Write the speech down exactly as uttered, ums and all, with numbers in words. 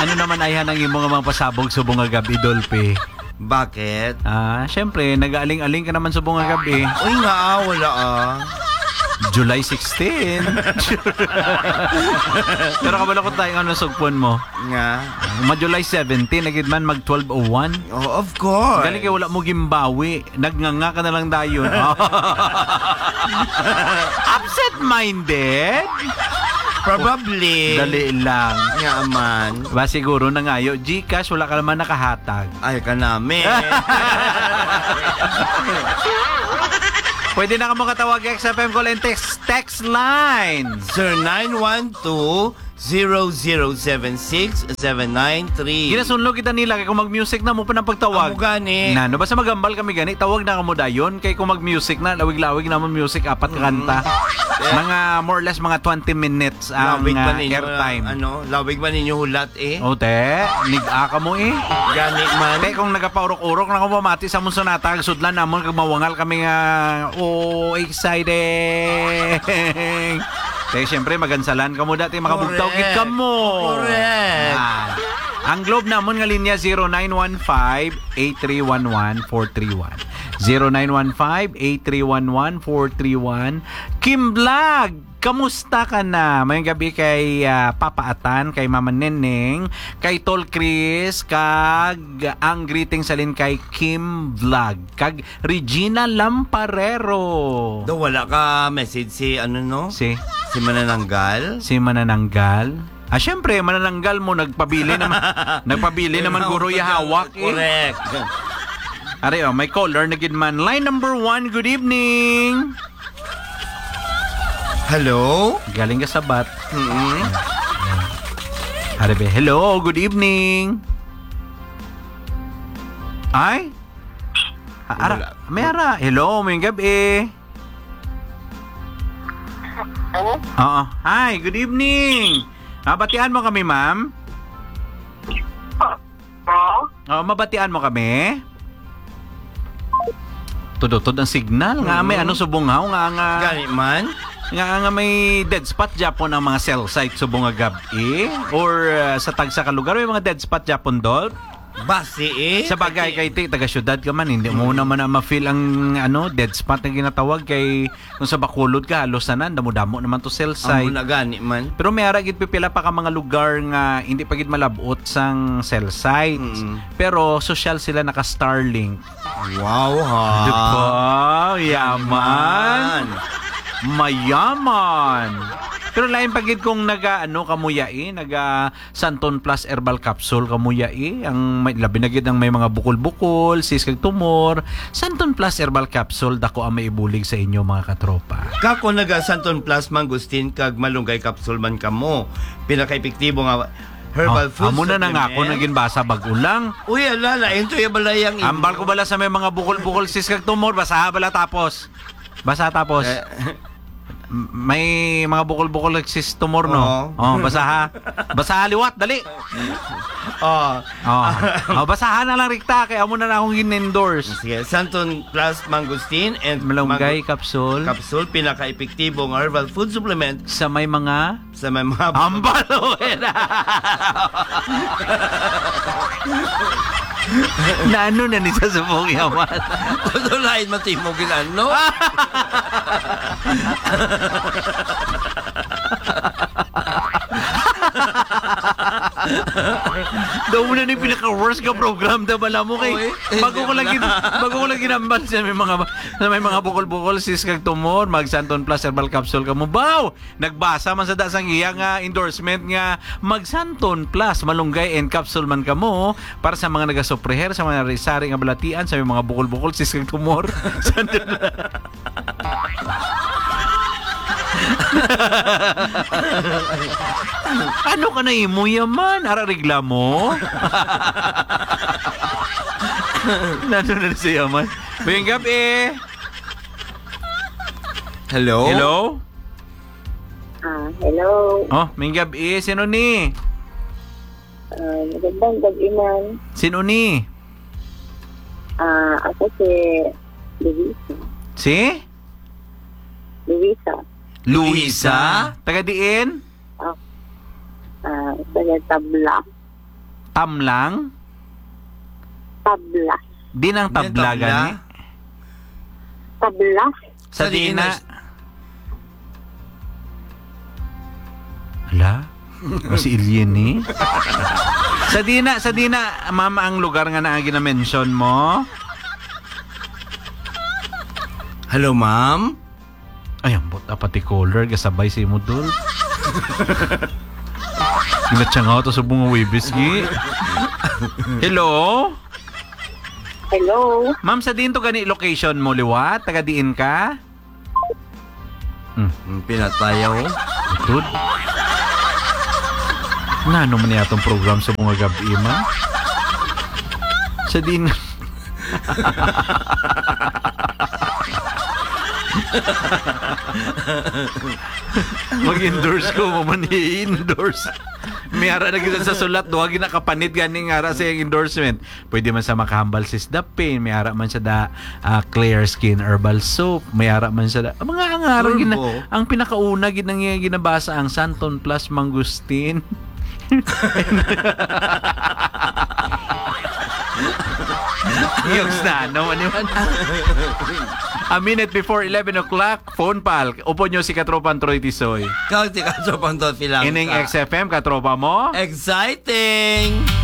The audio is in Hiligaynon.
Ano naman ayhan ang imo nga mga pasabog subong nga gab-i, Dolphy? Bakit? Ah, syempre, nag-aaling-aling ka naman subong nga gab-i. Uy, nga, ah, wala, ah. July sixteen. Pero kabalo ko tayo, ano, sugpon mo? Nga? Ma-July seventeen, na gid man, mag twelve oh one. Oh, of course. Galing kay wala mo gimbawi. Nagnganga ka na lang dayon. Absent-minded? Probably. Dali lang. Nga man. Ba, siguro nangayo, GCash, wala ka naman nakahatag. Ay, kanami. Pwede na kamo katawag X F M Call and Text, text line. Zero nine one two, zero zero seven six, seven nine three. Ginasunlo kita nila kay kung mag-music na mo pa ng pagtawag. Amo gani. Na, no, basta magambal kami gani, tawag na kamo dayon kay kung mag-music na, lawig-lawig na mo music, apat ka Mm. kanta. Eh. Mga more or less mga twenty minutes ang, Lawig ba ah, ninyo, airtime. ano, lawig ba ninyo hulat eh? O, te, nig-a ka mo eh. Gani man. Te, kung nagapaurok-urok na ko mamati sa mong sonata, sudlan namon kag mawangal kami nga, oh, exciting. Te, siyempre, magansalan ka mo dati, makabugtaw gid Correct. ka mo. Correct. Ah. Ang Globe namon nga linya, zero nine one five, eight three one one, four three one. Zero nine one five, eight three one one, four three one. Kim Vlog, kamusta ka na? Mayong gabi kay, ah, Papa Atan, kay Mama Neneng, kay Tol Chris, kag ang greeting sa lin kay Kim Vlog, kag Regina Lamparero. Daw wala ka message si, ano, no? Si? Si Manananggal? Si Manananggal? Ah, syempre, Manananggal mo, nagpabili naman, nagpabili naman, guro, ya hawak, eh. Correct. Are, oh, may caller na gid man. Line number one, good evening. Hello? Galing ka Sabat. Mm-mm. Are, be, hello, good evening. Ay? Ah, ara, Wala. may ara. Hello, may gabi. Hello? Oo. Hi, good evening. Mabatian mo kami, ma'am? Hello? Oh, mabatian mo kami? Tudutod ang signal. Nga may Mm. ano, subong haw, nga, nga Gani man? nga, nga may dead spot, Japon, ang mga cell site subong nga gab-i? Or, uh, sa tagsa ka lugar, may mga dead spot, Japon, Dol? Basi, eh. Sa bagay, Kasi kay ti, taga-syudad ka man, hindi mo Mm. naman na ma-feel ang, ano, dead spot na ginatawag kay kung sa Bacolod ka, halos na nan, damo-damo naman to cell Amo site. na gani man. Pero may ara gid pipila pa ka mga lugar nga hindi pa gid malabot sang cell sites. Mm. Pero sosyal sila, naka-Starlink. Wow, ha? Di ba? Yaman. Yaman. Mayaman. Pero lain pa gid kung naga, ano, ka mo yai, naga Santon Plus Herbal Capsule ka mo yai. Ang may, labi na gid ang may mga bukol-bukol, cyst kag tumor. Santon Plus Herbal Capsule, dako ang maibulig sa inyo, mga katropa. Kako naga Santon Plus Mangustin kag Malunggay Capsule man kamo. Pinakaepektibo nga herbal Oh, food amo na nang supplement. ako naging basa bag-o lang. Uy, ala, lain to yung balay ang Ambal imo. ko bala sa may mga bukol-bukol, cyst kag tumor, basaha bala tapos. Basa tapos. Eh. M-, may mga bukol-bukol kag cyst tumor, no? Oo. Oh, basaha. Basaha liwat, dali. Oh. Oh. Oh, basaha na lang rikta kay amo na na akong gin-endorse. Sige, Santon Plus Mangosteen and Malunggay Mango capsule. Capsule, pinaka-epektibo nga herbal food supplement Sa may mga sa may mga Ambal, okay na. Naano na ni sa subong yaman? Ano lain man timo ginano? Daw mo na ni pinaka-worst nga program, da bala mo kay Oy, bago ko hindi lagi, na. bago ko lagi nambal sa may mga, sa may mga bukol-bukol, cyst kag tumor, mag Santon Plus Herbal Capsule ka mo. Baw! Nagbasa man sa da sang iya nga endorsement nga mag Santon Plus, malunggay and capsule man kamo para sa mga nagasufriher sa mga sari-sari nga balatian, sa may mga bukol-bukol, cyst kag tumor. Santon Ano ka na imo yaman? Ara reklamo? Nano na sa yaman? Mayong gabi. Hello? Hello? Ah, hello. Oh, mayong gabi. Sino ni? Ah, magandang gabi, ma'am. Sino ni? Ah, ako si Luisa. Si? Luisa. Luisa? Taga diin? Ah, ah, taga Tabla. Tamlang? Tabla. Di nang Di nang tabla, tabla? Gani? Tabla. Sa Sa diin diin na? na? Ala? O si Alien ni? Sa diin na, sa diin na, ma'am, ang lugar nga na ginamention mo? Hello, ma'am? Ay, ambot, ah, pati caller, gasabay sa imo, dol. Ginatsangaw to sa bunga Webes, gi. Hello? Hello? Ma'am, sa diin to gani location mo, liwat? Taga diin ka? Hmm. Hmm, pinatayaw. Tud. Nano man niya atong program sa mga gabi, ma'am? Sa diin Mag-endorse ko, mo man i-endorse. May ara na gid sa sulat, duha gid nakapanit gani nga ara sa iyang endorsement. Pwede man sa Makahambal Sis Dapin, may ara man sa da, ah, Clear Skin Herbal Soap, may ara man sa da, mga ang ara gid na, Turbo. Ang pinakauna gid nang iyang ginabasa ang Santon Plus Mangustin. Yung sa ano, ano man. A minute before eleven o'clock, phone pal. Upo nyo si Katropang Troy Tisoy. Kag si Katropang Dolphy Langka. Ining X F M, katropa mo? Exciting!